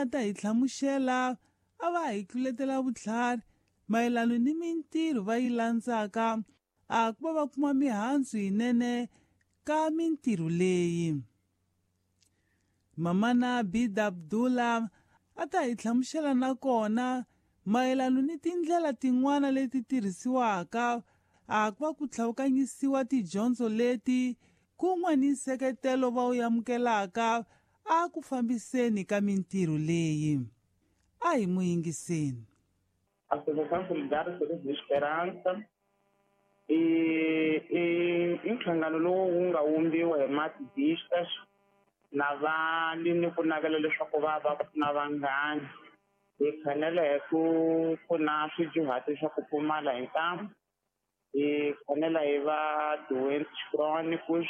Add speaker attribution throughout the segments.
Speaker 1: nga ta hi hlamusela a va hi tluletela vutlhari mayelano ni mintirho va yi landzaka a ku va va kuma mihandzu yinene ka mintirho leyi. Mamana Bida Abdullah a ta hi hlamusela na kona mayelano ni tindlela tin'wana leti tirhisiwaka a ku va ku tlhawukanyisiwa tidyondzo leti kun'we ni nseketelo va wu amukelaka a ku fambiseni ka mintirho leyi. A hi n'wi yingiseni.
Speaker 2: Associação Solidária Sorriso de Esperança i nhlangano lowu wu nga wumbiwa hi maadvistas na va ni ni ku navela leswaku va va pfuna vanghana. Hi fanele hi ku pfuna swidyuhati swa ku pfumala hi ntamu, hi fanele hi va doentes crônicos,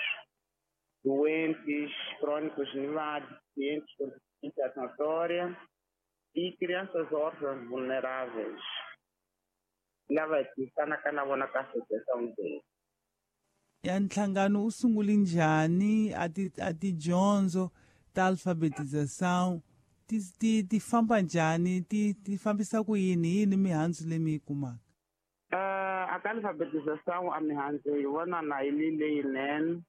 Speaker 2: doentes crônicos ni va deficientes com deficiência notória e crianças órfãs vulneráveis lava hi tirhisanaka na vona ka associação leyi.
Speaker 1: Ya nhlangano wu sungule njhani a ti a tidyondzo ta alfabetização ti ti ti famba njhani ti ti fambisa ku yini yini mihandzu leyi mi yi kumaka?
Speaker 2: A ka alfabetização a mihandzu hi vona na yi li leyinene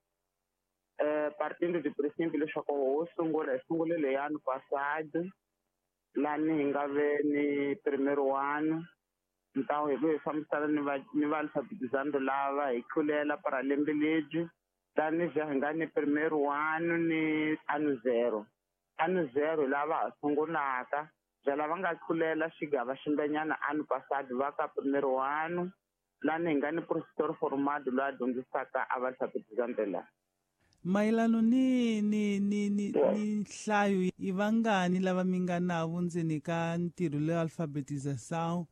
Speaker 2: partindo de princípio leswaku ho sungula hi sungule le ano passado lani hi nga ve ni primeiro ano ntawu hi ku hi fambisana ni va ni va alfabetizando lava hi tlulela para lembe lebyi tani ja hi nga ni primeiro ano ni ano zero. Ano zero lava ha sungulaka bya lava nga tlulela xigava ximbenyana ano passado va ka primeiro ano lani hi nga ni professor formado loyi a dyondzisaka a va alfabetizando la.
Speaker 1: Mayelano ni ni ni ni ni nhlayo i vangani lava mi nga navo ndzeni ka ntirho leyo alfabetização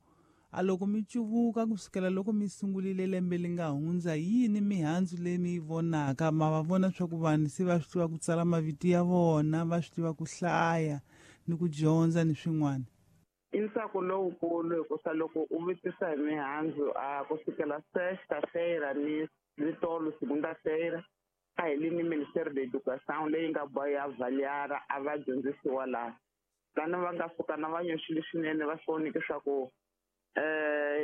Speaker 1: a loko mi cuvuka kusukela loko mi sungulile lembe li nga hundza yini mihandzu leyi mi yi vonaka ma va vona swa ku vanhu se va swi tiva ku tsala mavito ya vona va swi tiva ku hlaya ni ku dyondza ni swin'wana?
Speaker 2: I ntsako lowukulu hikusa loko u vutisa hi mihandzu a kusukela sexta-feira ni ni tolo segunda-feira a hi li ni Ministério da Educação leyi nga boha ya avaliar a va dyondzisiwa laha lani va nga suka na va nyoxile swinene va swi voneke swa ku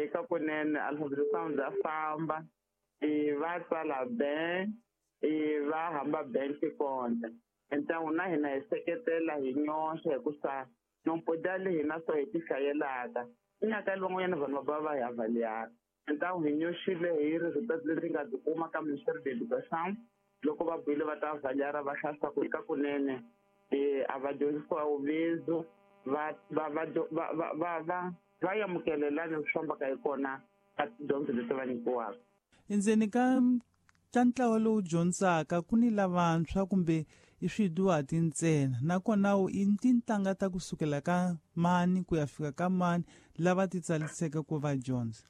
Speaker 2: eka kunene alfabetização bya famba va tsala ben va hamba ben tikonta ntangu na hina hi seketela hi nyoxa hikusa nompoda le hina so hi ti hlayelaka inyaka van'wanyana vanhu va va hi avaliar ntangu hi nyoxile hi resultat leri nga byi kuma ka Ministério da Educação loko va buile va ta avaliar va hlaya ku eka kunene a va dyondzisiwa uvizo va va va va va va va va amukelelani swi fambaka hi kona ka tidyondzo leti va nyikiwaka.
Speaker 1: Endzeni ka ntlawa lowu dyondzaka ku ni lavantshwa kumbe i swidyuhati ntsena nakona i tintangha ta kusukela ka mani ku ya fika ka mani lava ti tsaliseke ku va dyondza?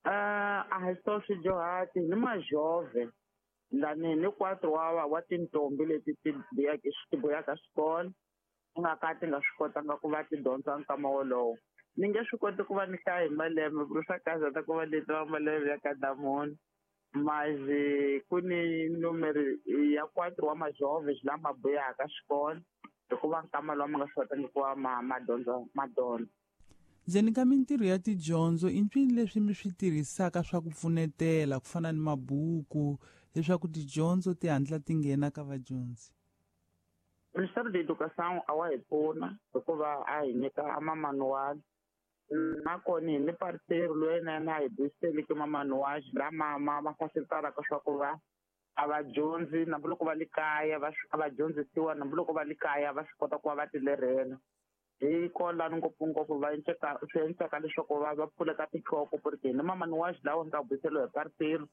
Speaker 2: A hi swo swidyuhati ni majove lani ni quatro wa tintombi leti ti buyaka ti buyaka xikolo ku nga ka ti nga swi kotanga ku va ti dyondza nkama wolowo. Ni nge swi koti ku va ni hlaya hi malembe ku ri swa kahle ta ku va leti va malembe ya ka munhu mas ku ni numero ya quatro wa majove lama buyaka xikolo hikuva nkama lowu ma nga swi kotangi ku va ma ma dyondza ma dyondza.
Speaker 1: Ndzeni ka mintirho ya tidyondzo i mpfini leswi mi swi tirhisaka swa ku pfunetela ku fana ni mabuku leswaku tidyondzo ti hatla ti nghena ka vadyondzi?
Speaker 2: Ministério da Educação a wa hi pfuna hikuva a hi nyika a mamanual nakona hi ni parceiro loyi na yena a hi buyiseleke mamanual lama ma ma facilitaraka swa ku va a va dyondzi hambiloko va le kaya va a va dyondzisiwa hambiloko va le kaya va swi kota ku va va ti lerhela hi kolani ngopfungopfu va enceka swi endleka leswaku va va pfuleka tinhloko porque ni mamanual lawa nga buyiseliwa hi parceiro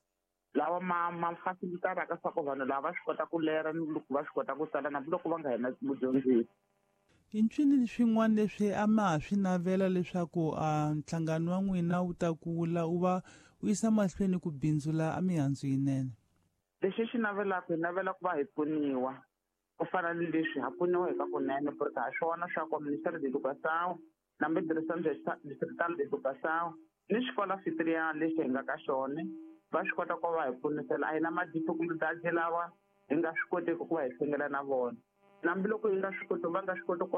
Speaker 2: lawa ma ma facilitaraka swa ku vanhu lava va swi kota ku lera ni loko va swi kota ku tsala hambiloko va nga hina mudyondzisi.
Speaker 1: I ncini swin'wana leswi a ma ha swi navela leswaku a nhlangano wa n'wina wu ta kula wu va wu yisa mahlweni ku bindzula a mihandzu yinene?
Speaker 2: Lexi xi navelaka hi navela ku va hi pfuniwa ku fana ni leswi ha pfuniwa hi ka kunene porque ha swi vona swa ku Ministério da Educação na Direção Distrital de Educação ni xikolo anfitrian lexi hi nga ka xona va swi kota ku va hi pfunisela a hi na ma-dificultades lawa hi nga swi koteki ku va hi hlengela na vona hambiloko hi nga swi koti va nga swi koti ku